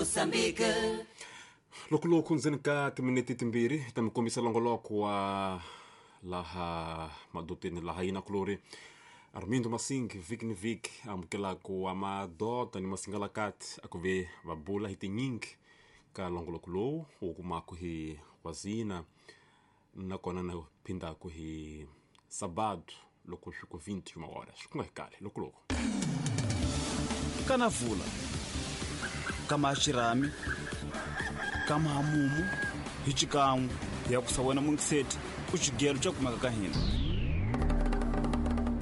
Moçambique. Loko loku ndzeni ka timinete timbirhi hi ta mi kombisa longoloko wa laha madoteni laha yina kulori Armindo Masing vhiki ni vhiki amukelaku wa madota ni masingalakati a ku ve va bula hi tinyingi ka longoloko lowu wu kumaku hi wazina nakona na phindaku hi sabado loko swi ku 21 horas swi ku nga hi kale loko loko Kanavula kama xirhami kama hamumu hi xikan'we hi ya kusa wena mungiseti ku xigelo xa kumeka ka hina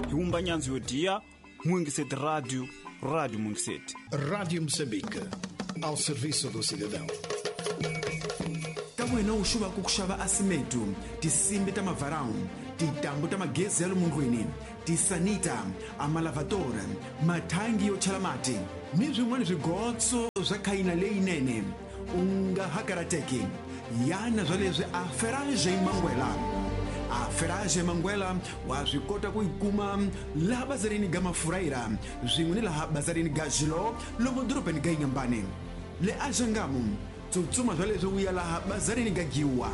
hi wumba nyandzu yo diya muingiseti radio radio mungiseti. Rádio Moçambique, ao serviço do cidadão. Ka wena u xuvaka ku xava asimetu, tinsimbi ta mavarawu, tintambu ta magezi ya le tisanita, amalavadora, mathangi yo chela mati ni swin'wana swigotso swa khayina leyinene, u nga ha karateki yana swa leswi a Ferage Mangwela. A Ferage Mangwela wa swi kota ku yi kuma laha bazarini ga Mafurayira swin'we ni laha bazarini ga Xilo lomu dorobeni ga Inyambane le Axangamu. Tsutsuma swa leswi u ya laha bazarini ga Giwa,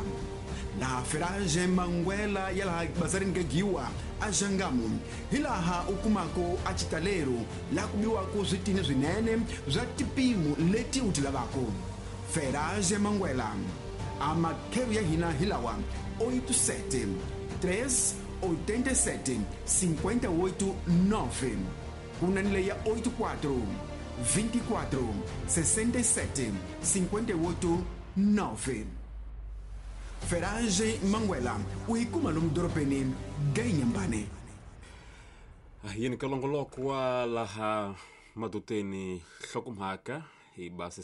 laha Ferage Mangwela ya laha bazarini ga Giwa Axangamu, hi laha u kumako a xitalero laha ku biwako switini swinene swa tipimo leti u ti lavako. Ferage Mangwela, a makheru ya hina hi lawa: 87 3 87 58 9, ku na ni leyi ya 84 24 67 58 9. Ferage Mangwela u yi kuma lomu dorobeni ga Inyambane. Yini ka longoloko wa laha madoteni hlokomhaka hi basi.